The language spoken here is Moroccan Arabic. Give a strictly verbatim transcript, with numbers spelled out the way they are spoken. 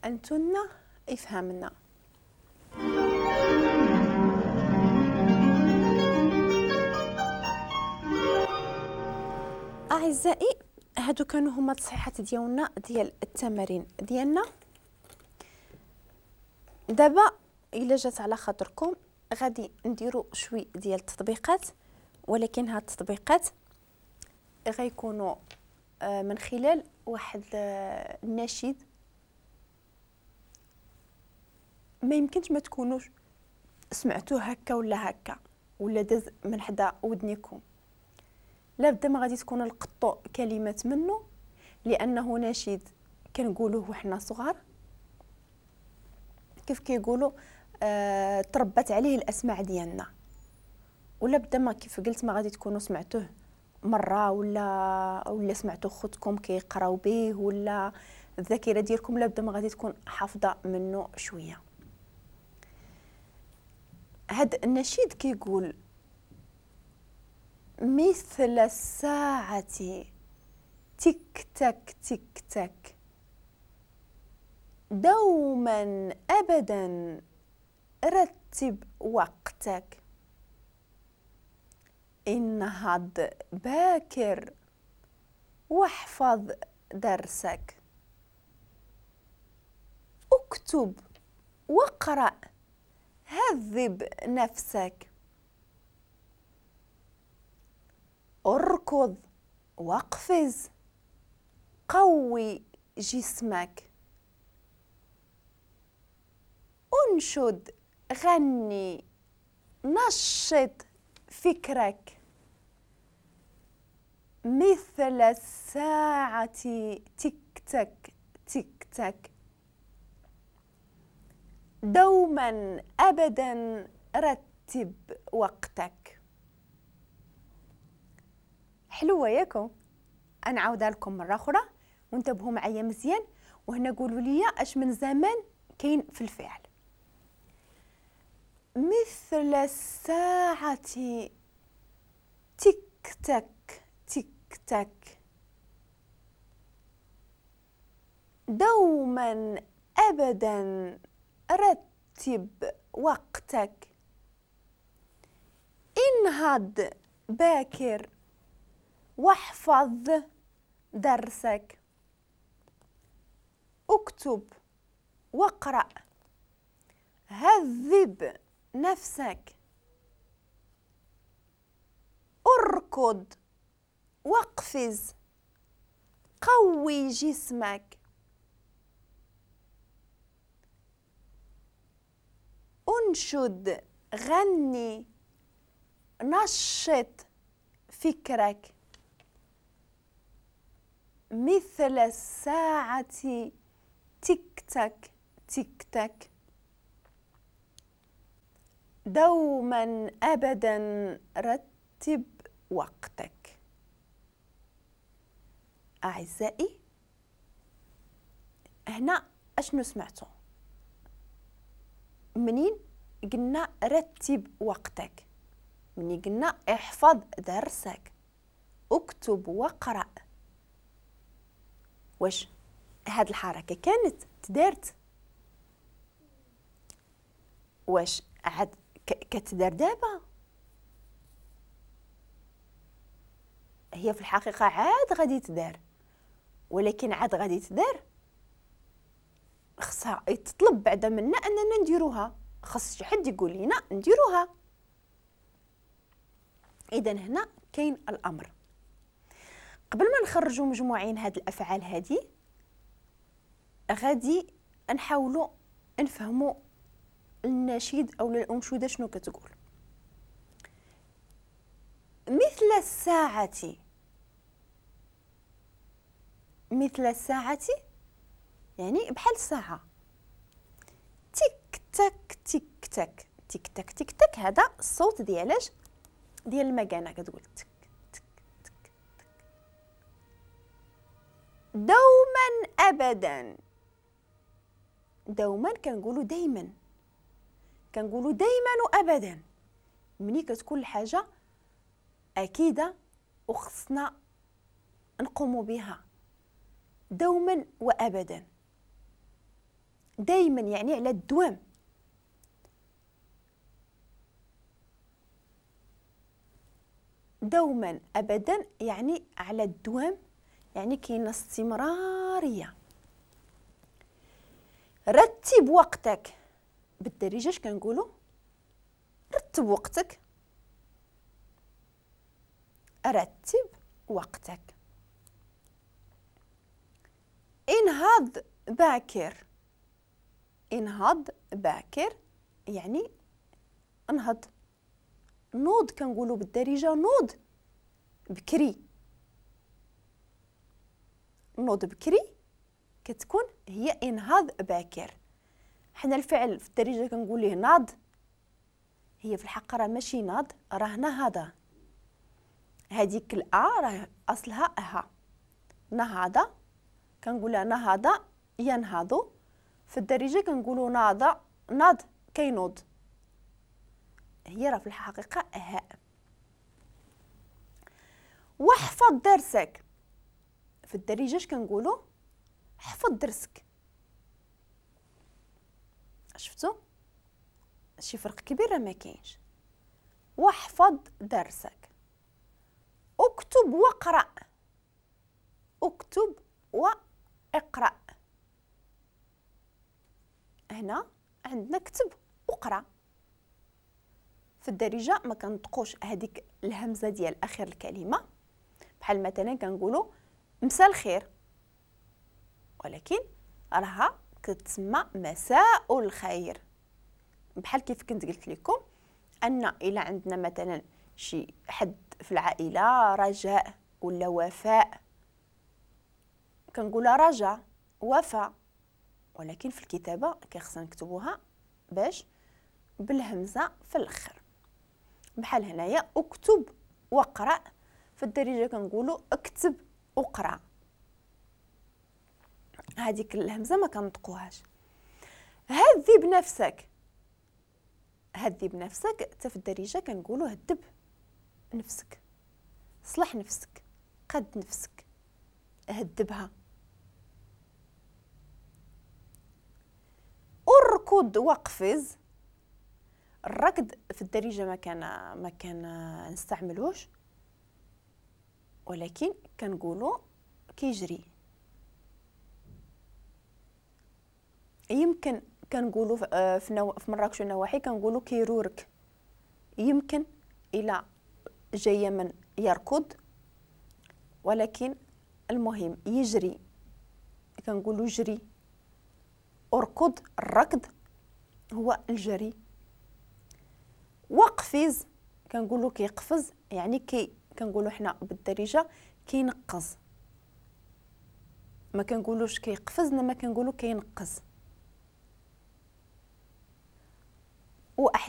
أنتن افهمنا. أعزائي هادو كانوا هما التصحيحات ديالنا ديال التمارين ديالنا. دابا الا جات على خاطركم غادي نديرو شوي ديال التطبيقات، ولكن هاد التطبيقات غيكونوا من خلال واحد النشيد ما يمكنش ما تكونوش سمعتوه هكا ولا هكا ولا داز من حدا ودنيكم، لابد ما غادي تكونوا لقطوا كلمات منه، لانه نشيد كنقولوه وحنا صغار، كيف كيقولوا آه تربت عليه الاسماع ديالنا، ولا بدا ما كيف قلت ما غادي تكونوا سمعتوه مرة ولا ولا سمعتوا خوتكم كيقراو به، ولا الذاكرة ديالكم لابد ما غادي تكون حافظه منه شوية. هاد النشيد كيقول: مثل الساعة تك تك تك تك، دوما أبدا رتب وقتك، انهض باكر واحفظ درسك، اكتب واقرأ هذب نفسك، اركض واقفز قوي جسمك، انشد غني نشط فكرك، مثل الساعة تك تك تك تك، دوما أبدا رتب وقتك. حلوة ياكم؟ أنا عاودها لكم مرة أخرى وانتبهوا معايا مزيان، وهنا قولوا لي أش من زمان كاين في الفعل. مثل الساعة تك تك تك تك، دوما أبدا رتب وقتك، انهض باكر واحفظ درسك، اكتب واقرأ هذب نفسك، اركض واقفز قوي جسمك، انشد غني نشط فكرك، مثل الساعة تك تك تك تك، دوما أبدا رتب وقتك. أعزائي هنا أشنو سمعتو؟ منين قلنا رتب وقتك، منين قلنا احفظ درسك، اكتب واقرأ، واش هاد الحركة كانت تدارت؟ واش عاد كتدار دابا؟ هي في الحقيقة عاد غادي تدار، ولكن عاد غادي تدار خصها يتطلب بعدا منا اننا نديروها، خص شي حد يقول لنا نديروها. اذا هنا كاين الامر. قبل ما نخرجوا مجموعين هاد الافعال هادي غادي نحاولوا نفهموا النشيد او الانشوده شنو كتقول. مثل الساعة، مثل الساعة يعني بحال الساعة، تك تك تك تك تك تك تك تك، هذا الصوت ديالاش؟ ديال المكانة، كتقول تك تك تك تك. دوما ابدا، دوما كنقولوا دايما، كنقولوا دايما وابدا ملي كتكون الحاجة اكيدة وخصنا نقوموا بها دوما وابدا. دائما يعني على الدوام. دوما ابدا يعني على الدوام، يعني كاينه استمرارية. رتب وقتك، بالدارجة اش كنقولوا؟ رتب وقتك، رتب وقتك. انهض باكر، انهض باكر يعني انهض، نوض، كنقولوا بالدارجة نوض بكري، نوض بكري كتكون هي انهض باكر. حنا الفعل في الدارجة كنقول ليه ناض، هي في الحق راه ماشي ناض، راه نهض. هذيك الأ راه اصلها ها، نهض كنقولها نهض ينهض، في الدارجة كنقولوا ناض، ناض كينوض، هي راه في الحقيقة هاء. واحفظ درسك، في الدارجة اش كنقولوا؟ حفظ درسك. شفتوا شي فرق كبير ما كاينش. واحفظ درسك. اكتب واقرأ، اكتب واقرأ، هنا عندنا كتب وقرأ. في الدارجة ما كنطقوش هذيك الهمزة ديال اخر الكلمة، بحال مثلا كنقولوا مساء الخير، ولكن راها كتسمى مساء الخير. بحال كيف كنت قلت لكم ان الى عندنا مثلا شي حد في العائلة رجاء ولا وفاء، كنقولها رجاء وفاء، ولكن في الكتابة كيخصنا نكتبوها باش بالهمزه في الاخر. بحال هنايا اكتب واقرا، في الدارجة كنقولوا اكتب وقرا، هذيك الهمزة ما كنطقوهاش. هذب نفسك، هذب نفسك حتى في الدارجة كنقولوا هذب نفسك، صلح نفسك، قد نفسك، هذبها. اركض واقفز، الركض في الدارجة ما كان ما كان نستعملوش، ولكن كنقولوا كيجري. يمكن كنقولوا في نو... في مراكش والنواحي كنقولوا كيرورك، يمكن الى جاية من يركض، ولكن المهم يجري كنقولوا جري. اركض، الركض هو الجري. وقفز كنقولوا كيقفز، يعني كي كنقولوا حنا بالدارجة كينقز، ما كنقولوش كيقفز، ما كنقولوا كينقز. واحيانا